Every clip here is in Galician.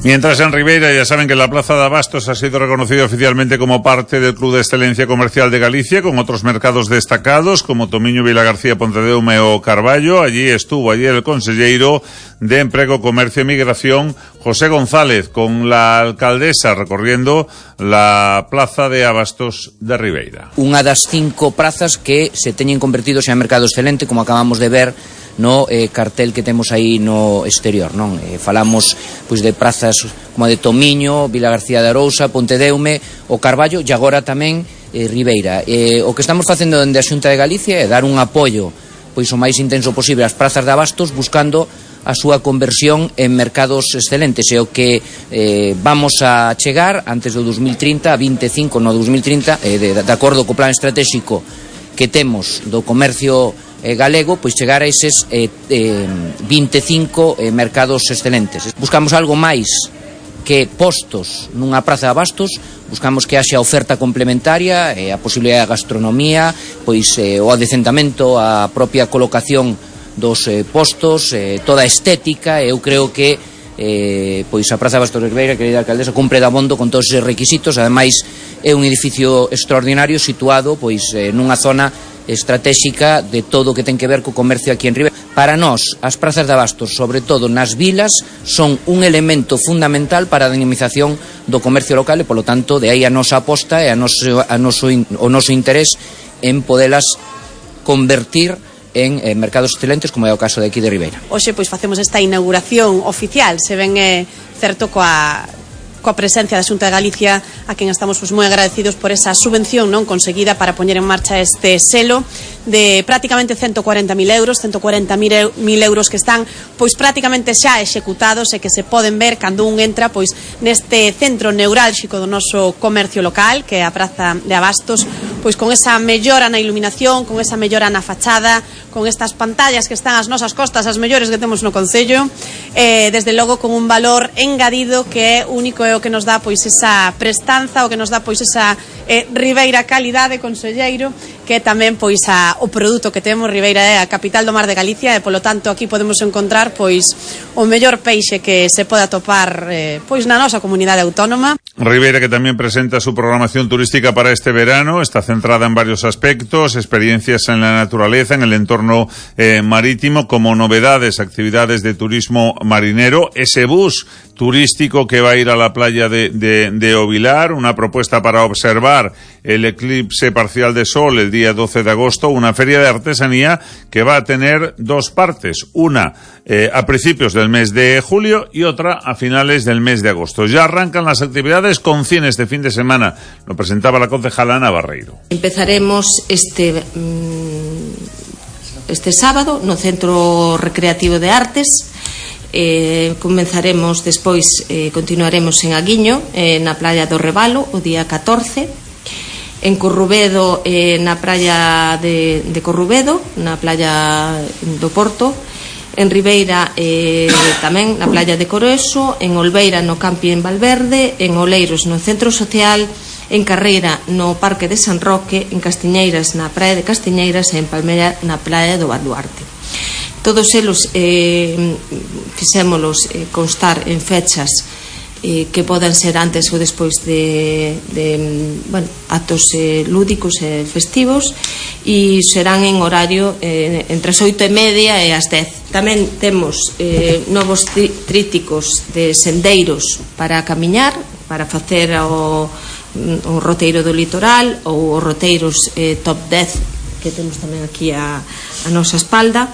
Mientras en Ribeira ya saben que la Plaza de Abastos ha sido reconocida oficialmente como parte del Club de Excelencia Comercial de Galicia, con otros mercados destacados como Tomiño, Vilagarcía, Pontedeume o Carballo. Allí estuvo ayer el conselleiro de Emprego, Comercio e Migración, José González, con la alcaldesa recorriendo la Plaza de Abastos de Ribeira. Unha das 5 prazas que se teñen convertido xa en mercado excelente, como acabamos de ver no cartel que temos aí no exterior, non? Falamos pois de prazas como a de Tomiño, Vilagarcía de Arousa, Pontedeume, o Carballo e agora tamén Ribeira. O que estamos facendo dende a Xunta de Galicia é dar un apoio pois o máis intenso posible ás prazas de abastos, buscando a súa conversión en mercados excelentes, e o que vamos a chegar antes do 2030, a 25 no 2030, de acordo co plan estratégico que temos do comercio galego, pois chegar a eses 25 mercados excelentes. Buscamos algo máis que postos nunha praza de abastos, buscamos que haxa oferta complementaria, a posibilidade de gastronomía, pois o adecentamento, a propia colocación dos postos, toda a estética. Eu creo que pois a Praza de Abastos de Ribeira, querida alcaldesa, cumpre dabondo con todos eses requisitos. Ademais, é un edificio extraordinario situado pois nunha zona estratégica de todo o que ten que ver co comercio aquí en Ribeira. Para nós, as prazas de abastos, sobre todo nas vilas, son un elemento fundamental para a dinamización do comercio local e, polo tanto, de aí a nosa aposta e o noso interés en podelas convertir en mercados excelentes, como é o caso de aquí de Ribeira. Hoxe pois facemos esta inauguración oficial, se ven certo coa presencia da Xunta de Galicia, a quen estamos pois moi agradecidos por esa subvención non conseguida para poñer en marcha este selo de prácticamente 140.000 euros, 140.000 euros que están pois prácticamente xa executados e que se poden ver cando un entra pois neste centro neurálxico do noso comercio local, que é a Praza de Abastos, pois con esa mellora na iluminación, con esa mellora na fachada, con estas pantallas que están ás nosas costas, as mellores que temos no concello, desde logo con un valor engadido que é único, é o que nos dá pois esa prestanza, o que nos dá pois esa Ribeira calidade, conselleiro, que é tamén pois o produto que temos. Ribeira é a capital do mar de Galicia e polo tanto aquí podemos encontrar pois o mellor peixe que se poda atopar pois na nosa comunidade autónoma. Ribeira, que también presenta su programación turística para este verano, está centrada en varios aspectos: experiencias en la naturaleza, en el entorno marítimo, como novedades, actividades de turismo marinero, ese bus turístico que va a ir a la playa de Ovilar, una propuesta para observar el eclipse parcial de sol el día 12 de agosto, una feria de artesanía que va a tener 2 partes, una a principios del mes de julio y otra a finales del mes de agosto. Ya arrancan las actividades con 100 este fin de semana, lo presentaba la concejala Ana Barreiro. Empezaremos este sábado no Centro Recreativo de Artes. Comenzaremos despois, continuaremos en Aguiño, na Playa do Rebalo, o día 14, en Corrubedo, na Praia de Corrubedo, na Playa do Porto, en Ribeira tamén na Playa de Coroeso, en Olveira no Camping Valverde, en Oleiros no Centro Social, en Carreira no Parque de San Roque, en Castiñeiras na Praia de Castiñeiras e en Palmera na Playa do Baluarte. Todos eles fixémolos constar en fechas que podan ser antes ou despois de actos lúdicos e festivos, e serán en horario entre as 8:30 e as 10. Tamén temos novos tríticos de sendeiros para camiñar, para facer o roteiro do litoral ou os roteiros top 10 que temos tamén aquí a nosa espalda.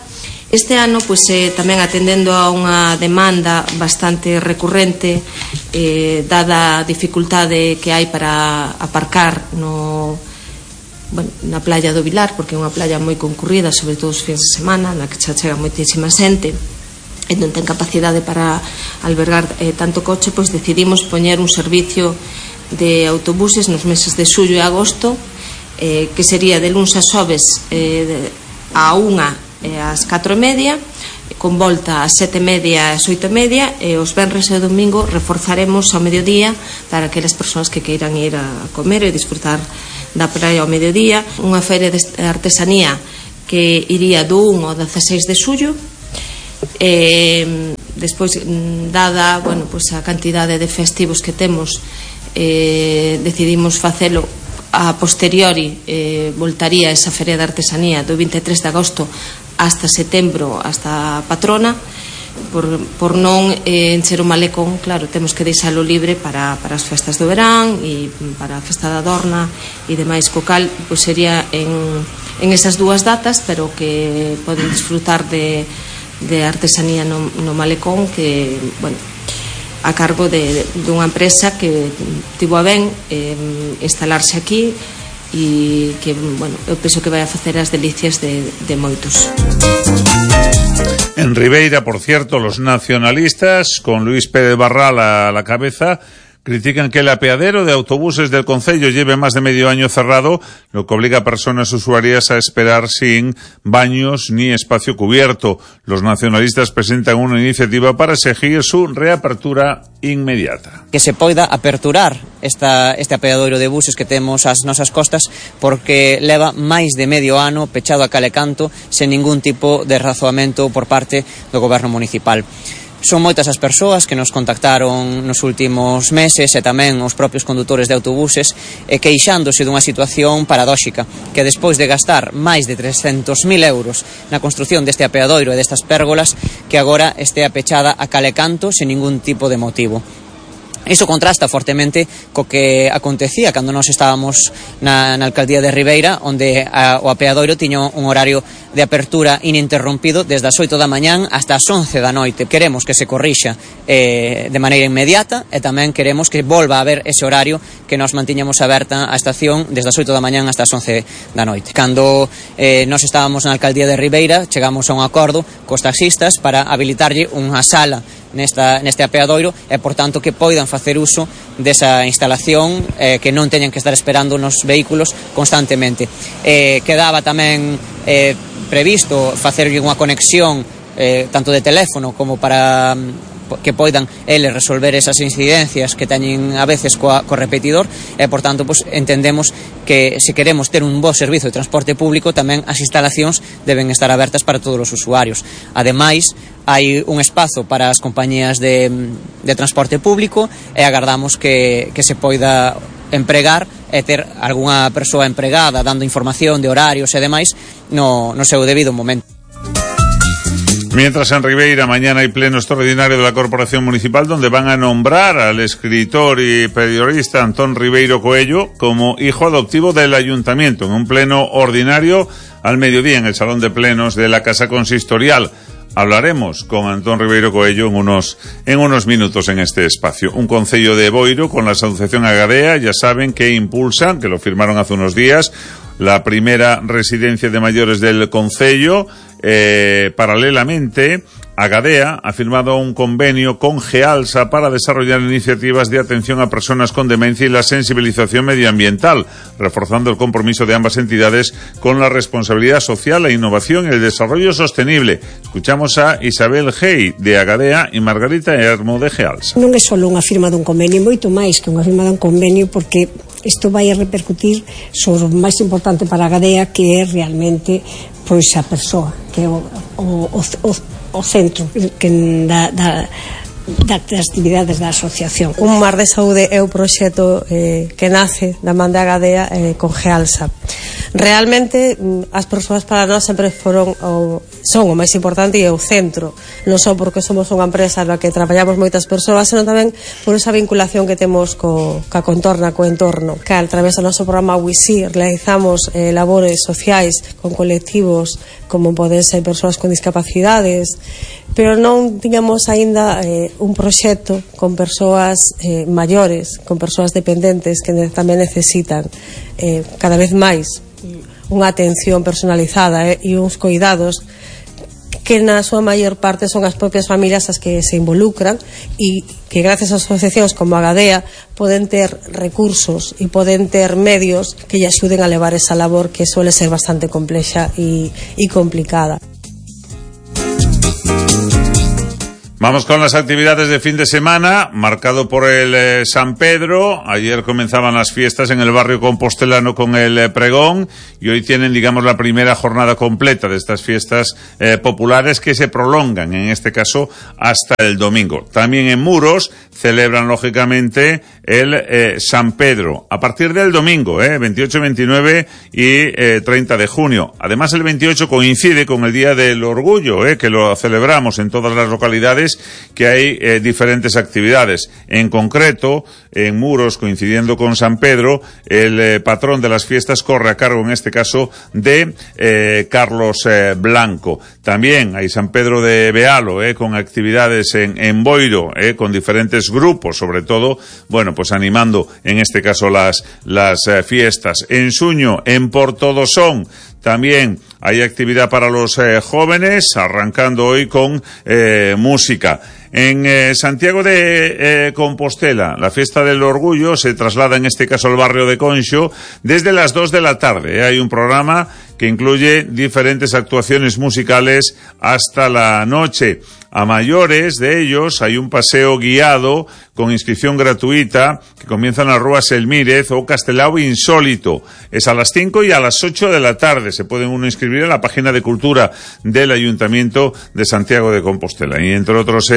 Este ano, pois, tamén atendendo a unha demanda bastante recurrente, dada a dificultade que hai para aparcar na playa do Vilar, porque é unha playa moi concurrida, sobre todo os fins de semana, na que xa chega moitísima xente e non ten capacidade para albergar tanto coche, pois decidimos poñer un servicio de autobuses nos meses de xullo e agosto, que sería de luns a xoves a 1 ás 4:30, con volta ás 7:30 e ás 8:30, e os venres e o domingo reforzaremos ao mediodía para aquelas persoas que queiran ir a comer e disfrutar da praia ao mediodía. Unha feria de artesanía que iría do 1 ao 16 de xullo, despois, dada, bueno, pois a cantidade de festivos que temos, decidimos facelo a posteriori. Voltaría esa feria de artesanía do 23 de agosto hasta setembro, hasta a patrona, por non encher o malecón. Claro, temos que deixalo libre para as festas do verán e para a festa da Dorna e demais, co cal pois sería en esas dúas datas, pero que poden disfrutar de artesanía no malecón, que, bueno, a cargo dunha empresa que tivo a ben instalarse aquí e que, bueno, eu penso que vai a facer as delicias de moitos. En Ribeira, por cierto, los nacionalistas, con Luis Pérez Barral a la cabeza, critican que el apeadero de autobuses del concello lleve más de medio año cerrado, lo que obliga a personas usuarias a esperar sin baños ni espacio cubierto. Los nacionalistas presentan una iniciativa para exigir su reapertura inmediata. Que se poida aperturar este apeadoiro de buses que temos ás nosas costas, porque leva máis de medio ano pechado a calecanto sen ningún tipo de razoamento por parte do goberno municipal. Son moitas as persoas que nos contactaron nos últimos meses e tamén os propios condutores de autobuses queixándose dunha situación paradóxica, que despois de gastar máis de 300.000 euros na construción deste apeadoiro e destas pérgolas, que agora estea pechada a calecanto sen ningún tipo de motivo. Iso contrasta fortemente co que acontecía cando nós estábamos na alcaldía de Ribeira, onde o apeadoiro tiña un horario de apertura ininterrompido desde as 8 da mañán hasta as 11 da noite. Queremos que se corrixa de maneira inmediata e tamén queremos que volva a haber ese horario que nos mantiñamos aberta a estación desde as 8 da mañán hasta as 11 da noite. Cando nós estábamos na alcaldía de Ribeira, chegamos a un acordo cos taxistas para habilitarlle unha sala neste apeadoiro e, por tanto, que poidan facer uso desa instalación, que non teñan que estar esperando nos vehículos constantemente. Quedaba tamén previsto facerlle unha conexión tanto de teléfono como para que poidan eles resolver esas incidencias que teñen a veces co repetidor e, por tanto, pues, entendemos que se queremos ter un bo servizo de transporte público, tamén as instalacións deben estar abertas para todos os usuarios. Ademais, hai un espazo para as compañías de transporte público e agardamos que se poida empregar e ter algunha persoa empregada dando información de horarios e demais no seu debido momento. Mientras en Ribeira mañana hay pleno extraordinario de la Corporación Municipal, donde van a nombrar al escritor y periodista Antón Ribeiro Coello como hijo adoptivo del Ayuntamiento, en un pleno ordinario al mediodía en el Salón de Plenos de la Casa Consistorial. Hablaremos con Antón Ribeiro Coello en unos minutos en este espacio. Un concello de Boiro con la asociación Agadea, ya saben que impulsan, que lo firmaron hace unos días, la primera residencia de mayores del concello. Paralelamente, Agadea ha firmado un convenio con Gealsa para desarrollar iniciativas de atención a personas con demencia y la sensibilización medioambiental, reforzando el compromiso de ambas entidades con la responsabilidad social, la innovación y el desarrollo sostenible. Escuchamos a Isabel Hey de Agadea e Margarita Hermo de Gealsa. Non é só unha firma dun convenio, moito máis que unha firma dun convenio, porque isto vai a repercutir sobre o máis importante para Agadea, que é realmente pois a persoa, que é o centro que das actividades da asociación. Un mar de saúde é o proxecto que nace da man de Agadea con Gealsa. Realmente as persoas para nós sempre son o máis importante e o centro, non só porque somos unha empresa na que traballamos moitas persoas, senón tamén por esa vinculación que temos ca contorna, co entorno. Que a través do noso programa WISI realizamos labores sociais con colectivos como poden ser persoas con discapacidades, pero non tiñamos aínda un proxecto con persoas maiores, con persoas dependentes que tamén necesitan cada vez máis unha atención personalizada e uns cuidados que na súa maior parte son as propias familias as que se involucran e que gracias a asociacións como Agadea poden ter recursos e poden ter medios que lle axuden a levar esa labor que suele ser bastante complexa e complicada. Vamos con las actividades de fin de semana, marcado por el San Pedro. Ayer comenzaban las fiestas en el barrio compostelano con el pregón y hoy tienen, digamos, la primera jornada completa de estas fiestas populares que se prolongan, en este caso, hasta el domingo. También en Muros celebran, lógicamente, el San Pedro a partir del domingo, 28, 29 y 30 de junio. Además, el 28 coincide con el Día del Orgullo, que lo celebramos en todas las localidades, que hay diferentes actividades. En concreto, en Muros, coincidiendo con San Pedro, el patrón de las fiestas corre a cargo, en este caso, de Carlos Blanco. También hay San Pedro de Bealo, con actividades en Boiro, con diferentes grupos, sobre todo, bueno, pues animando, en este caso, las fiestas. En Suño, en Portodosón, también hay actividad para los jóvenes, arrancando hoy con música. En Santiago de Compostela, la fiesta del orgullo se traslada, en este caso, al barrio de Conxo desde las 2 de la tarde. Hay un programa que incluye diferentes actuaciones musicales hasta la noche. A mayores de ellos hay un paseo guiado con inscripción gratuita que comienza en la Rúa Selmírez o Castelao Insólito. Es a las 5 y a las 8 de la tarde. Se pueden uno inscribir en la página de cultura del Ayuntamiento de Santiago de Compostela. Y entre otros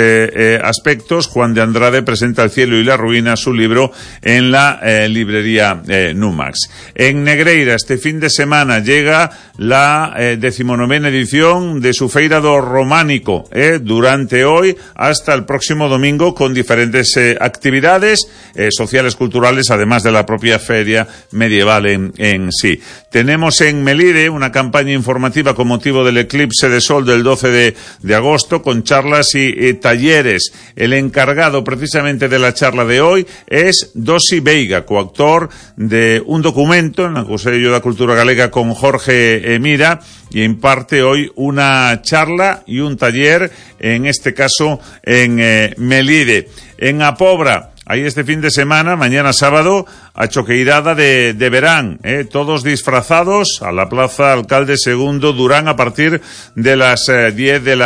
aspectos, Juan de Andrade presenta El cielo y la ruina, su libro, en la librería Numax. En Negreira, este fin de semana llega la 19ª edición de su Feira do Románico, durante hoy hasta el próximo domingo, con diferentes actividades sociales, culturales, además de la propia feria medieval en sí. Tenemos en Melide una campaña informativa con motivo del eclipse de sol del 12 de agosto, con charlas y talleres. El encargado precisamente de la charla de hoy es Dosi Veiga, coautor de un documento en el Consello da Cultura Galega con Jorge Mira, y imparte hoy una charla y un taller, en este caso en Melide. En Apobra, ahí este fin de semana, mañana sábado, a choqueirada de verán, todos disfrazados a la Plaza Alcalde Segundo Durán a partir de las 10 de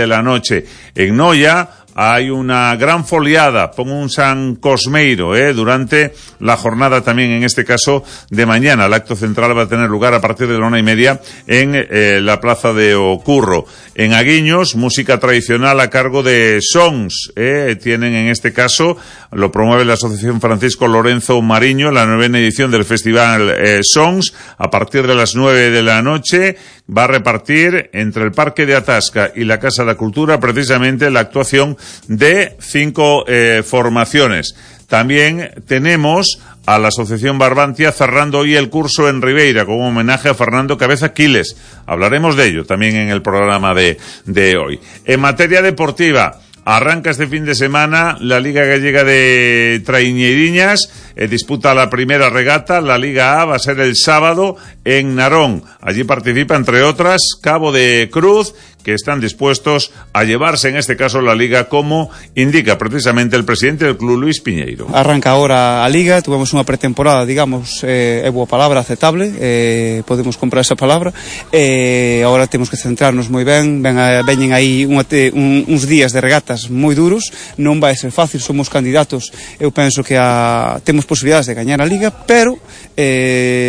la noche. En Noia hay una gran foliada, pongo un San Cosmeiro, durante la jornada también, en este caso, de mañana. El acto central va a tener lugar a partir de la 1:30 en la Plaza de Ocurro. En Aguiños, música tradicional a cargo de Sons, tienen, en este caso, lo promueve la Asociación Francisco Lorenzo Mariño, la 9ª edición del Festival Sons, a partir de las 9 de la noche. Va a repartir entre el Parque de Atasca y la Casa de la Cultura precisamente la actuación de 5 formaciones. También tenemos a la Asociación Barbantia cerrando hoy el curso en Ribeira con un homenaje a Fernando Cabeza Quiles. Hablaremos de ello también en el programa de hoy. En materia deportiva, arranca este fin de semana la Liga Gallega de Traiñeiriñas, disputa la primera regata. La Liga A va a ser el sábado en Narón. Allí participa, entre otras, Cabo de Cruz, que están dispuestos a llevarse, en este caso, la Liga, como indica precisamente el presidente del club, Luis Piñeiro. Arranca ahora a Liga, tuvemos unha pretemporada, digamos, é boa palabra, aceptable, podemos comprar esa palabra, agora temos que centrarnos moi ben, veñen aí uns días de regatas moi duros, non vai ser fácil, somos candidatos, eu penso que temos posibilidades de gañar a Liga, pero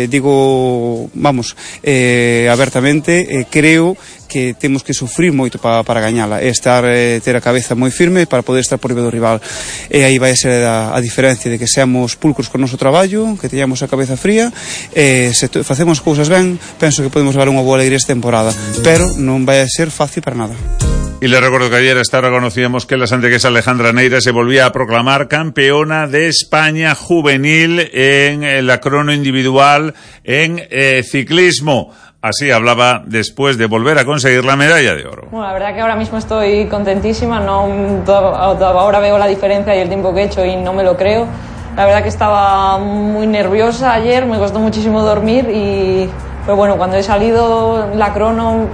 digo, vamos, abertamente, creo que temos que sufrir moito para gañala, ter a cabeza moi firme para poder estar por riba do rival, e aí vai ser a diferencia de que seamos pulcros con o noso traballo, que teñamos a cabeza fría, se facemos cousas ben, penso que podemos levar unha boa alegría esta temporada, pero non vai ser fácil para nada. Y les recuerdo que ayer hasta ahora conocíamos que la santiaguesa Alejandra Neira se volvía a proclamar campeona de España juvenil en la crono individual en ciclismo. Así hablaba después de volver a conseguir la medalla de oro. Bueno, la verdad que ahora mismo estoy contentísima, ahora veo la diferencia y el tiempo que he hecho y no me lo creo. La verdad que estaba muy nerviosa ayer, me costó muchísimo dormir pero bueno, cuando he salido la crono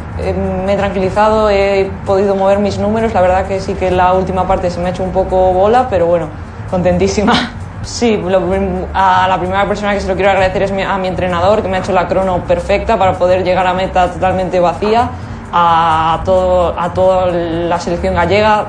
me he tranquilizado, he podido mover mis números. La verdad que sí que la última parte se me ha hecho un poco bola, pero bueno, contentísima. Sí, a la primera persona que se lo quiero agradecer es a mi entrenador, que me ha hecho la crono perfecta para poder llegar a meta totalmente vacía. A toda la selección gallega,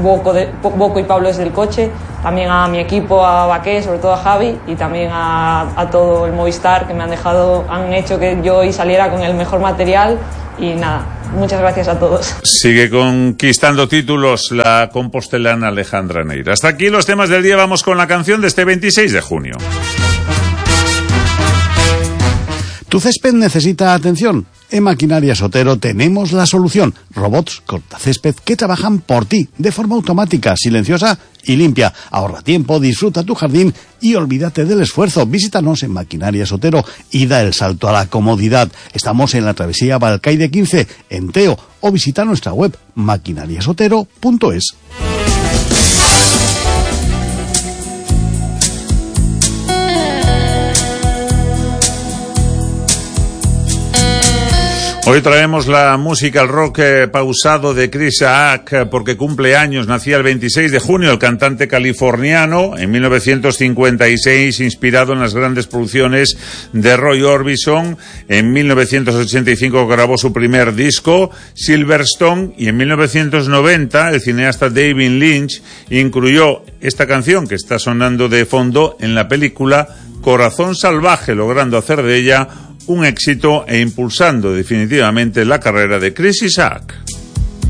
Boco y Pablo desde el coche, también a mi equipo, a Baqué, sobre todo a Javi, y también a todo el Movistar, que han hecho que yo hoy saliera con el mejor material. Y nada, muchas gracias a todos. Sigue conquistando títulos la compostelana Alejandra Neira. Hasta aquí los temas del día. Vamos con la canción de este 26 de junio. Tu césped necesita atención. En Maquinarias Otero tenemos la solución. Robots cortacésped que trabajan por ti de forma automática, silenciosa y limpia. Ahorra tiempo, disfruta tu jardín y olvídate del esfuerzo. Visítanos en Maquinarias Otero y da el salto a la comodidad. Estamos en la travesía Balcaide 15, en Teo, o visita nuestra web maquinariasotero.es. Hoy traemos la música, el rock pausado de Chris Isaak, porque cumple años. Nacía el 26 de junio el cantante californiano, en 1956, inspirado en las grandes producciones de Roy Orbison. En 1985 grabó su primer disco, Silverstone, y en 1990 el cineasta David Lynch incluyó esta canción que está sonando de fondo en la película Corazón Salvaje, logrando hacer de ella un éxito e impulsando definitivamente la carrera de Chris Isaak.